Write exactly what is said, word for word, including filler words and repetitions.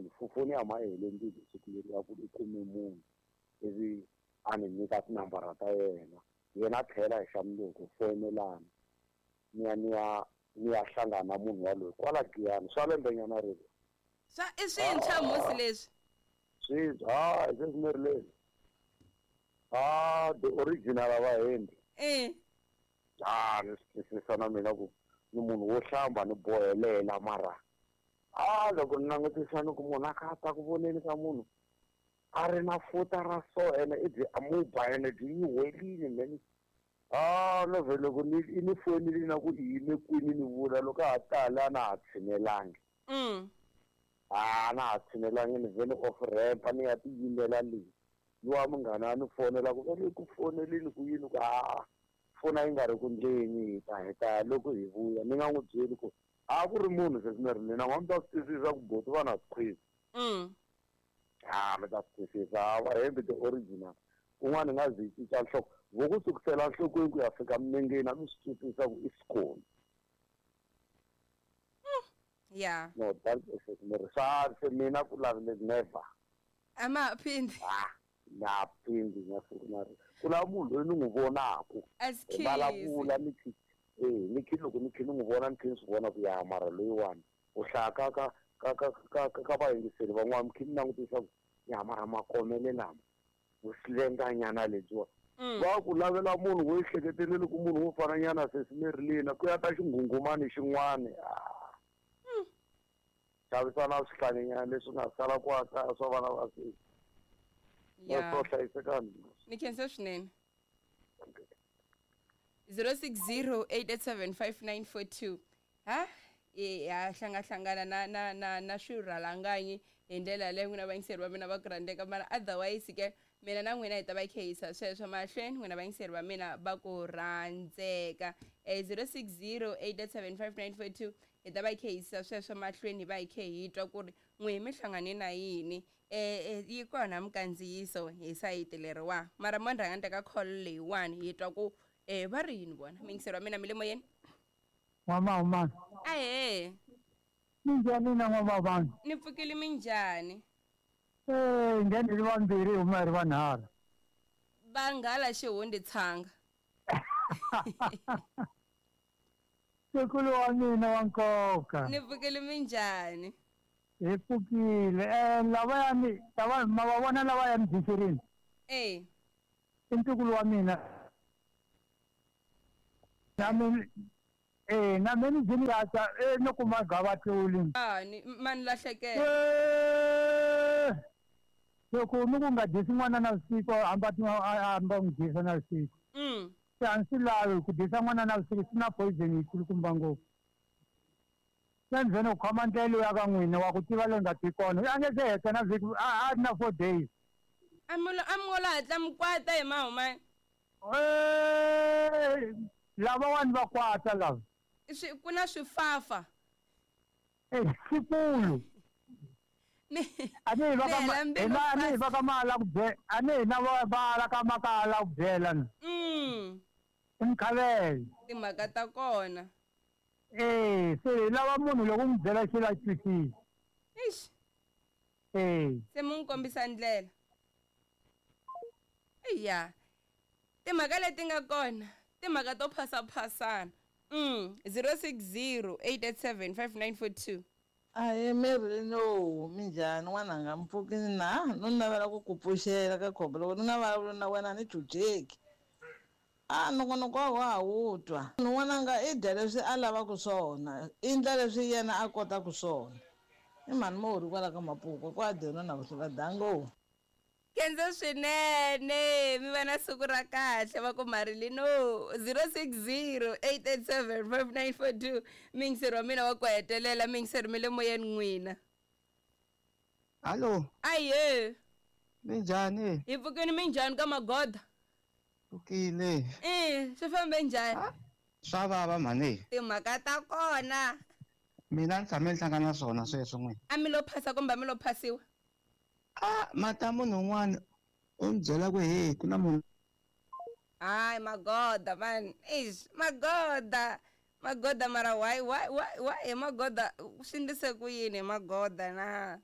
munhu foni ya ma hele mbilu siku leri a ku i kume munhu ivi a ni nyika tinambara ta yena yena a tlhela hi xa mundzuku foyinelana ni ya ni ya ni ya hlangana na munhu waloye kwala Giyani swa lembenyana rero swa i swintshwa musi leswi swintshwa hayi se swi ri ah the original a va hembi eh ah ni swi twisisa na mina ku ni munhu wo hlamba ni bohelela mara ah loko ni langutisa ni ku munhu a kha a ta ku voneni ka munhu a ri na futa ra so ene i byi amuba ene byi yi welile mani ah no vhe loko ni i ni fonile na ku i yime kwini ni vula loko a ha tala a na ha tshinelangi mm ah na ha tshinelangi ni vhele off ramp ni ya tiyimela leyi luwa munghana a ni fonela ku vele ku fonelini ku yini ku a fona yi nga ri ku ndleni hi ta hi ta loko hi vuya ni nga n'wi byeli ku a ku ri munhu se ni ri mina n'wa mi ta swi twisisa ku boti va na swikhwizi mm ah mi ta swi twisisa va hembi the original kun'wana nga zi cinca nhloko vo ku sukusela nhlokweni ku ya fika minengeni a mi swi twisisa ku i sikoni yeah no that is ni ri swa se mina ku lavile never a ma phindi ah na phindi na siku na ri ku lava munhu loyi ni n'wi vonaku hi vulavula ni khi eh ni khi loko ni khi ni n'wi vona ni khi ni swi vona ku ya mara loyiwani u hlaya ka ka ka ka ka ka ka vayingiseri van'wana mi khi ni langutisa ku ya mara makomele lama vusilenganyana lebyiwa va ku lavela munhu wo ehleketeleli ku munhu wo fananyana sesimerilina ku ya ta xinghunghumani xin'wana xavisana swihlanginyana leswi nga sala ku kaya swa vana va sesi yeah swo hlayisekani ni khensa swinene zero six zero eight eight seven five nine four two ha ya hlangahlangana na na na na swirhalanganyi hi ndlela leyi n'wina vayingiseri va mina va ku rhandzeka mara otherwise ke mina na n'wina hi ta va khehisa sweswo mahlweni n'wina vayingiseri va mina va ku rhandzeka eh zero six zero eight eight seven five nine four two hi ta va khehisa sweswo mahlweni hi va hi khe hi twa ku ri n'wi mi hlangane na yini eh yi kona mikandziyiso hi sayiti leriwa mara mo ni rhanga ni teka call leyiwani hi twa ku eh va ri yini vona miyingiseri wa mina mi le moyeni N'wamahumani ahee minjhani na n'wamahumani ni pfukile minjhani eh ngheni hi ri vambirhi hi huma hi ri vanharhu vanghala xihundi tshanga sekulu wa mina wa nkoka ni pfukile minjhani hi pfukile eh lavayani lava ma va vona lavaya mudyiserini eh i ntukulu wa mina na mina eh na mina ndzi ni yata eh no kuma gavatluli ah ni mani lahlekela eh loko mi ku nga dyisi n'wana na vusiku hamba hamba n'wi dyisa na vusiku mm se a ndzi swi lavi ku dyisa n'wana na vusiku swi na poison yikulukumba ngopfu se ndzi vhene ku khoma ndlela ya ka n'wina wa ku tiva leyi nga ti kona a nge se heta na vhiki a a ri na four days a mi a mi ngo lo hatla mi kwata hi mahumani eh lavawani va kwata lava swi ku na swifafa eh swikulu ni a ni hi va ka ni ma hela mbilu hina a ni hi fast va ka mala ku bye a ni hina va va la ka makala ku byela ni mm i mukhavele timhaka ta kona eh se hi lava munhu loko u n'wi byela xilo a twisisa ixi eh se mu n'wi kombisa ndlela iya timhaka leti nga kona timhaka to phasaphasana mm zero six zero eight eight seven five nine four two Ahee Marilyn minjhani n'wananga mpfukini na no navela ku ku pfuxela ka khombo loko ni nga vulavuli na wena a ni chucheki a nongonoko wa ha wu twa n'wananga i dya leswi a lavaka swona i endla leswi yena a kotaka swona i mhani Mori kwala ka Mapuku kwa Deno na vuhlula dango Kenzo swinene mi va na siku ra kahle va ku Marilyn zero six zero eight eight seven five nine four two miyingiseri wa mina wa ku hetelela miyingiseri mi le moyeni n'wina Hallo, aye minjhani? hi pfukini minjhani ka magoda Pfukile. eh swi fambe njhani Swa vava mhani. timhaka ta kona Mina ni tshame ni hlangana na swona sweswo n'wina. a mi lo phasa kumbe a mi lo phasiwa Ah, mata munhu un'wana u ni byela ku he ku na munhu hayi magoda man ish magoda magoda mara why why why why hi magoda swi ndlise ku yini hi magoda na